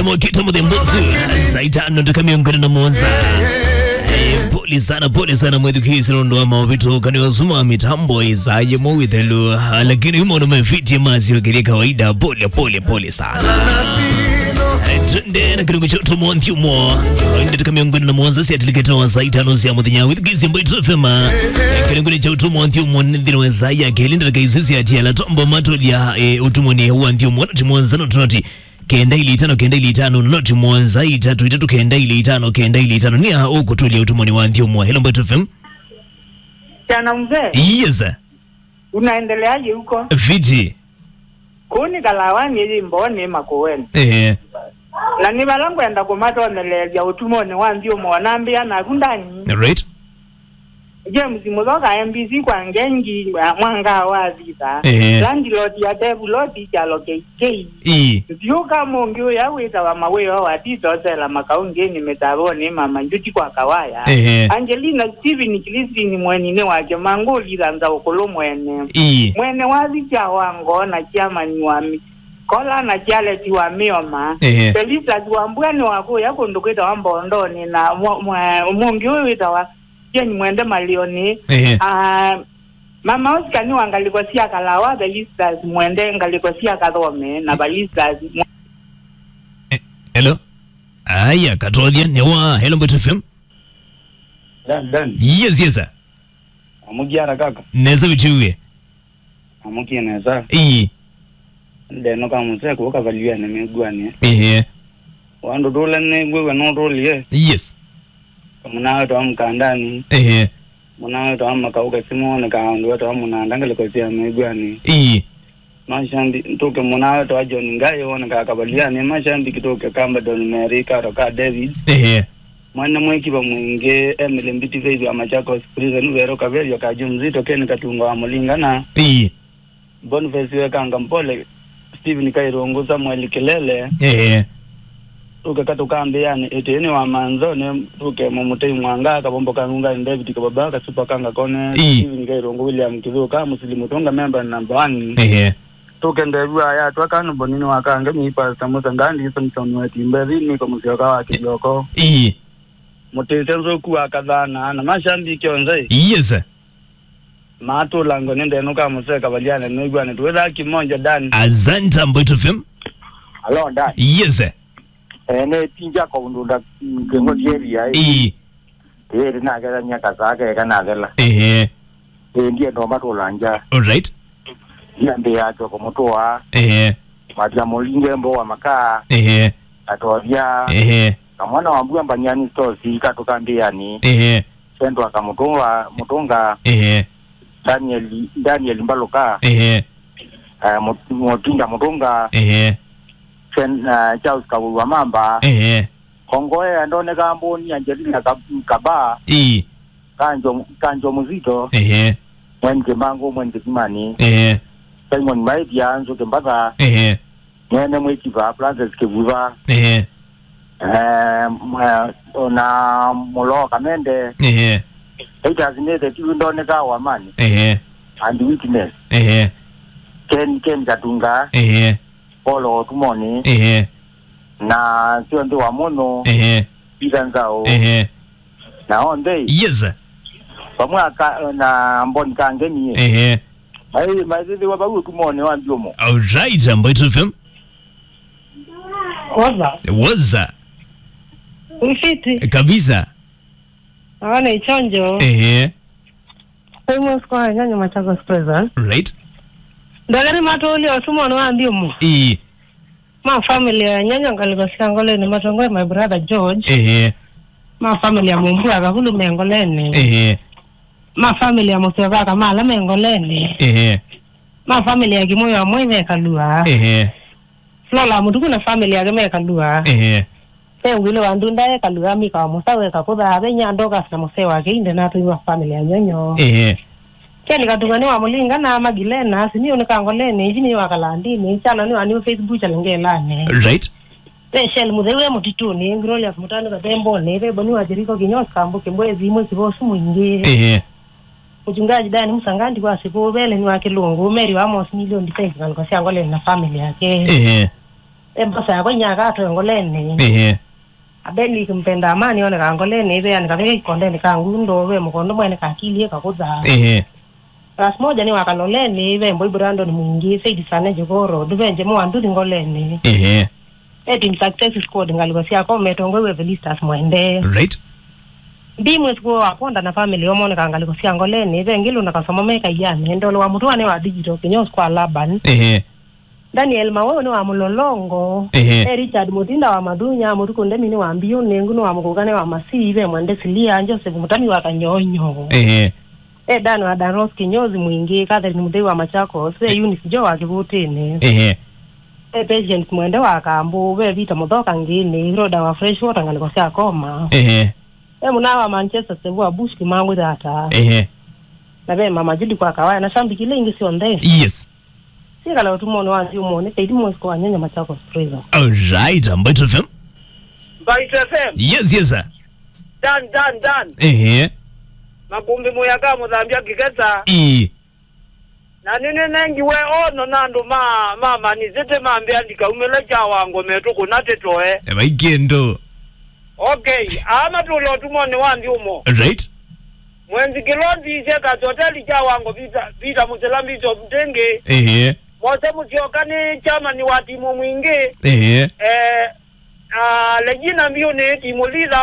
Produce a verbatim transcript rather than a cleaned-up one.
Mokita mũthemba ũsu, saa itano ndakika mĩongo ĩna na mũonza. Eh, pole sana, pole sana, mwĩthukĩĩsya nũndũ wa maũvĩtũkanĩo asu ma mĩtambo ĩsaa yĩmwe wĩthelu. Ah, lakini yu maũndũ mefĩtie masyokelie kawaida. Pole, pole, pole sana. Eh, twende na kĩlungu kya ũtũmwa nthyomo. Ndakika mĩongo ĩna na mũonza syatilikĩte wa saa itano sya mũthenya. Wĩthukĩĩsya Mbaitu F M. Eh, kĩlungu kya ũtũmwa nthyomo nĩ nthĩnĩ wa saa ya kelĩ, ndakika isu syatiala tombo matũlya, eh, ũtũmwa nĩ wa nthyomo. Noti mũonza, noti, noti kenda ili itano, kenda ili itano, noti mũonza, itatu, itatu, kenda ili itano, kenda ili itano. Nĩa ũkũtũlya ũtũmwa nĩ wa nthyomo. Hello, Mbaitu F M. Jana mzee. Yes, sir. Unaendeleaje huko? Fiti. Kũu nĩ Kalawani, ĩyĩ Mbooni, Makueni. Ehe. Na nĩ vala ngwenda kũmatonyeleelya ũtũmwa nĩ wa nthyomo, nambĩa naku ndani. Right. James Muthoka, M B C kwa Ngengi, mwa-, mwanga wa thitha. Ehe. Landlord ya Devu Lord, kyalo K K. Ii. Nziũka mũngĩ ũya wĩtawa Mawĩo wa Tito, Sela Makaungĩnĩ, Mĩtavonĩ, Mama Njuti kwa Kawaya. Ehe. Angelina Steven, Christine mweninĩ wake, Mangũli Thanza Ũkũlũ mwene. Ii. Mwene wa Vicha wa Ngoo na chairman wa mi-, Kola na Charles wa Mĩoma. Ehe. Felicitas wa Mbua nĩ wa kũya kũndũ kwĩtawa Mbondonĩ, na mwa-, mwa-, mũngĩ ũyũ wĩtawa Jane Mwende Malioni. Ehe. Ah, Mama Oscar nĩ wa ngalĩko sya Kalawa, Felicitas Mwende ngalĩko sya Kathome, na Felicitas Mwe- Eh, hello? Aya, katothya nĩ wa Hello Mbaitu F M. Dan, Dan. Yes, yes, sir. Amugiara kaka. Nesa vitiwie. Amukie nesa. Ii. Ndeno ka museko kavaliane miguanie. Ehe. Wandu tule ne gwewe no tulie. Yes. Kamuna wetu wa Mkandani. Ehe. Muna wetu wa Makauka simu ne ka wandu wetu wa Munanda ngalĩko sya miguanie. Ii. Mashambi tuke muna wetu wa John Ngai wone ka kavaliane. Mashambi tuke kamba Don Mary karo ka David. Ehe. Mwana mwĩkiva mwingĩ, Emily Mbiti Faith wa Machakos Prison, Vero Kaverio, Kaju Mzito, Ken Katunga wa Mũlinga na Ii. Boniface Wekanga Mpole, Stephen Kairungu, Samuel Kilele. Ehe. Tuke katũkambĩanĩ ĩtĩnĩ wa manzoni, tuke Mũmũtei Mwanga, Kavombo ka Ngungani, David Kababa, Kasupa Kanga Kone, Ii. Stephen Kairungu, William Kithuka, Musili Mutunga, member number one. Ehe. Tuke Ndevu aya atwa kanu bonini wa Kangemi, Pastor Musa Ngandi, Samson Wetimbethi, Niko Musyoka wa Kĩvyoko. Ii. Mũtĩsya nzũku wa Kathana, na mashambiki onthe. Yes, sir. Matũlango nĩ ndenũka mũseka valiane nĩw'ane twĩthaa kimoja, Dan. Asante, Mbaitu F M. Hello, Dan. Yes, sir. Eh, nĩ Tinja kwa Undunda, mm, Kĩng'oti area, eh. Ii. Ĩĩ, ndinakethania kasaa keka nathela. Ehe. Ĩĩ, ndienda matũla nja. All right. Ndiambĩĩa atwe kũmũtũa. Ehe. Matia mũlinge mbo wa makaa. Ehe. Atovya. Ehe. Kamwana wa mbua mbanyani stosi katũkambĩani. Ehe. Sendwa kamũtũnga, mũtũnga. Ehe. Daniel, Daniel Mbaluka. Ehe. Eh, Mut-, Mutinda Mũtũnga. Ehe. Sen-, eh, Charles Kawĩwa Mamba. Ehe. Kongoe andoneka mboni Angelina Kab-, Kaba. Ii. Kanjo, Kanjo Muzito. Ehe. Mwen Kimbangu, Mwen Kisimani. Ehe. Simon Maithia, Nzuki Mbatha. Ehe. Mwene Mwikiva, Francis Kivuva. Ehe. Eh, mwa-, na Mulo Kamende. Ehe. Titus Nete, Tiwi Ndoneka Wamani. Ehe. And Witness. Ehe. Ken, Ken Katunga. Ehe. Paulo Otumoni. Ehe. Na Sionthe wa Mũno. Ehe. Peter Nzau. Ehe. Na onthe. Yes, sir. Vamwe aka-, na Mboni Kangeni. Ehe. Mai, maithithiwa vau ũtumoni wa nthyomo. All right, Mbaitu F M. Woza. Woza. Mfiti. Kabisa. Aone ichonjo. Ehe. Famous kwa nyanya Machakos Prison. Right. Ndagari matũlya ũtumoni wa nthyomo. Ii. Ma family ya nyanya ngalĩko sya Ngoleni matongoe my brother George. Ehe. Ma family ya Mumbua Kavulu me Ngoleni. Ehe. Ma family ya Mũseo Vaka mala me Ngoleni. Ehe. Ma family ya Kimoyo amwe me Kalua. Ehe. Flora Mutuku na family yake me Kalua. Ehe. Ve ngwili wa ndunda e Kalua, Mika wa Mũsawe, Kakũtha, Venya, Dorcas na mũsee wake Inde na atũi ma family ya Nyonyo. Ehe. Ken Katunga nĩ wa Mũlinga na Magilena, Simiu nĩ Kangoleni, Jimmy wa Kalandini, Chana nĩ wa New Faith Butcher Ngelani. Right. Ve Shell Mũtheu e Mũtitũnĩ, Glorious Mũtanu Kathembonĩ, ve Boni wa Jeriko Kinyos Kambu Kimbwezi, Mwĩkiva ũsu mwingĩ. Ehe. Mchungaji Dan Musangandi wa Siku, Velen wa Kilungu, Mary wa Amos Million Defense ngalĩko sya Ngoleni na family yake. Ehe. Embosa yakwa inyaka atwe ngoleni. Ehe. Abeli kimpenda amani one ka ngoleni, ive yani kavika kikondeni ka ngundo, ve mukondo mwene kakili kakutha. Ehe. Ras moja ni wakaloleni, ve mboi Brandon mwingi, Said Sane Jogoro, duve njemo wa nduthi ngoleni. Ehe. E Team Success Squad ngaliko sya kome tongwe we Felistas Mwende. Right. Ndi mwezi kwa waponda na family omone ka ngaliko sya ngoleni, ve ngilu na kasoma meka iyane, ndolo wa mutuane wa digital, kinyos kwa Laban. Ehe. Daniel Maweo ni wa Mulolongo. Ehe. E Richard Mutinda wa Mathunya, Mutuku Ndemi ni wa Mbiu, Nengu ni wa Mukukane wa Masii, ve Mwende Silia, Joseph Mutami wa Kanyonyo. Ehe. E Dan wa Daros Kinyozi mwingi, Catherine Muthei wa Machakos, ve Eunice Joe wa Kivutini. Ehe. E Patience Mwende wa Kambu, ve Vita Muthoka Ngini, Rhoda wa Fresh Water ngaliko sya Koma. Ehe. E muna wa Manchester Sevu wa Bush Kimangwi Thata. Ehe. Na ve Mama Judy kwa Kawaya na shambiki ile ingi syonthe. Yes. Sikala utumoni wa nthi umoni, Saidi Mosco wa Nyanya Machakos Prison. All right, Mbaitu F M. Mbaitu F M. Yes, yes, sir. Dan, Dan, Dan. Ehe. Makumbi muyaka muthambia kikesa. Ii. Na nini nengiwe ono na andu ma, ma Man City mambia ndikaumile kya wango metu kuna titoe. E, vai kindu. Okay, aa matula utumoni wa nthi umo. Right. Mwenzi Kilondi, Shakers Hotel, kya wango Peter, Peter Musila, Bishop Ndingi. Ehe. Mose Musyoka ni chairman wa timu mwingi. Ehe. Eh, ah, Regina Mbiu ni timu leader.